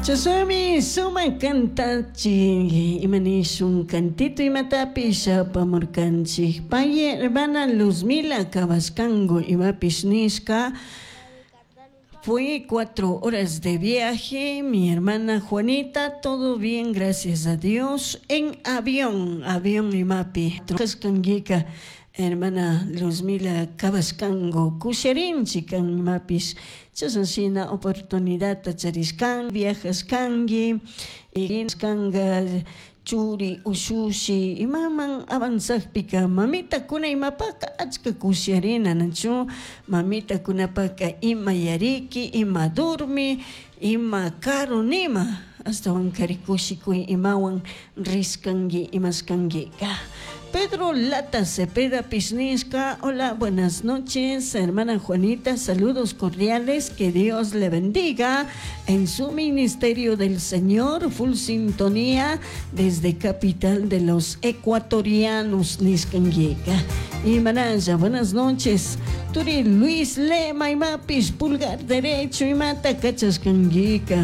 Chashnami sumak kantachik ima nishun kantito imatapish apamurkanchik pay hermana Luzmila Cabascango imapish nishka. Fue 4 horas de viaje, mi hermana Juanita, todo bien, gracias a Dios, en avión, avión imapi. Kashkankika, hermana Luzmila Cabascango, kusharinchik kan imapish, chashna shina oportunidadta charishkan, viajashkanki, kanga churi ushushi imaman avanzakpika mamitakuna imapaka achka kusharina nachu mamitakunapaka ima yariki ima durmi ima karu nima ashtawankari kushikuy imawan rishkanki imashkankika. Pedro Lata Cepeda Pisnisca, hola, buenas noches, hermana Juanita, saludos cordiales, que Dios le bendiga en su ministerio del Señor, full sintonía desde capital de los ecuatorianos, nishkanguica. Y Manaya, buenas noches, Turi Luis Lema imapish, pulgar derecho imata kachashkanguica.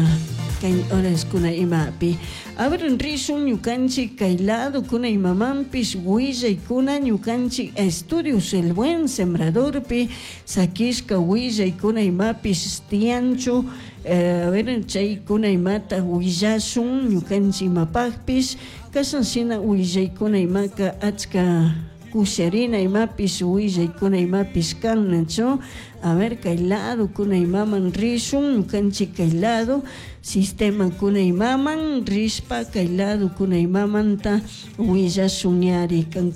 Kay horas kuna imapi. A ver, rishun ñukanchik kay lado kuna imamanpish willaykuna ñukanchik estudios El Buen Sembradorpi sakishka willaykuna imapish tiyanchu. A ver, chaykuna imata willashun ñukanchik imapakpish kashan shina willaykuna imaka achka kusharina imapish willaykuna imapish kan nachu. A ver, kay lado kuna imaman rishun ñukanchik kay lado sistema kuna imaman rishpa kay lado kuna imamanta willashun yari.